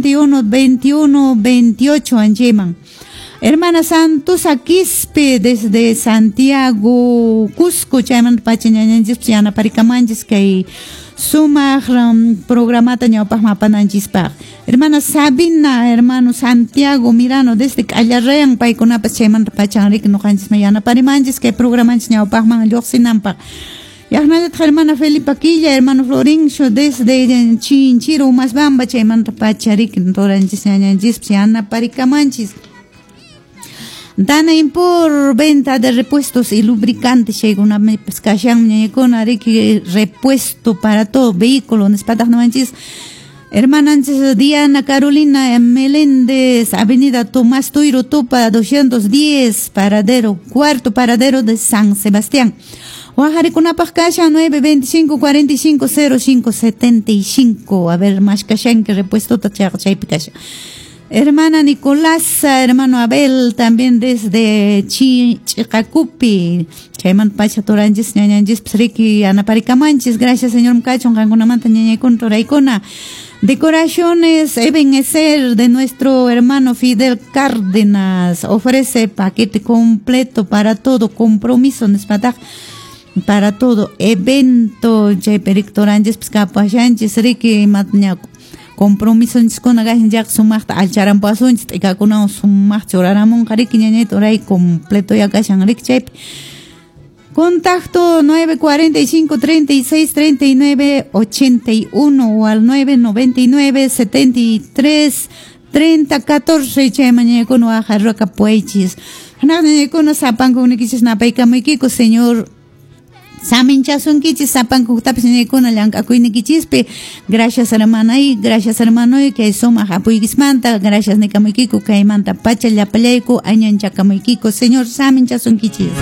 81 21 28 anchayman. Hermana Santusa Quispe desde Santiago, Cusco, chaymanta pacha ñañanchis yanaparikamanchis kay sumaq programata ñawpaqman apananchispaq. Hermana Sabina, hermano Santiago Mirano desde Callarrean, paykunapas chaymanta pachan riki ñuqanchisman yanaparimanchis kay programanchis ñawpaqman lluqsinanpaq. Yaqnallataq hermana Felipa Quilla, hermano Florencio desde Chinchiro, Umasbamba, chaymanta pacha riki turanchis ñañanchispas yanaparikamanchis. Dana Impor, venta de repuestos y lubricantes, chaykunapipas kashan ñañakuna riki repuesto para todo vehículo, nispataq nuwanchis. Hermananchis Diana Carolina Meléndez, Avenida Tomás Tuiro Tupa, 210, paradero, cuarto paradero de San Sebastián. Waqarikunapaq kashan 925 45 05 75. A ver, más kashan que repuesto chaypi kashan. Hermana Nicolasa, hermano Abel, también desde Chicacupi. Chaymanta pacha turanchis, ñañanchis, riki, anaparikamanchis. Gracias, señor Mkachon, qankunamanta ñañaykuna, turaykuna. Decoraciones Ebenezer de nuestro hermano Fidel Cárdenas. Ofrece paquete completo para todo compromiso, nispataj, para todo evento. Chaypi riki turanchis, pues, kapashanchis, riki, matña compromiso nchiskuna kashan chayqa sumaqta allcharampasunchis, t'ikakunawan sumaqta churaramunqa riki ñañayta uray completo ya kashan riki chaypi. Contacto 945 36 39 81 o al 999 73 30 14 chayman ñañaykuna waqharakapuwaychis. Hanaq ñañaykuna sapanku nikichis napaykamuykiku, Señor saminchasunkichis sapankutapis ñañaykuna llank'akuynikichispi. Gracias, hermanay, gracias, hermanoy, kay sumaq apuykismanta, gracias nikamuykiku kaymanta pacha llapallayku añanchakamuykiku, Señor saminchasunkichis.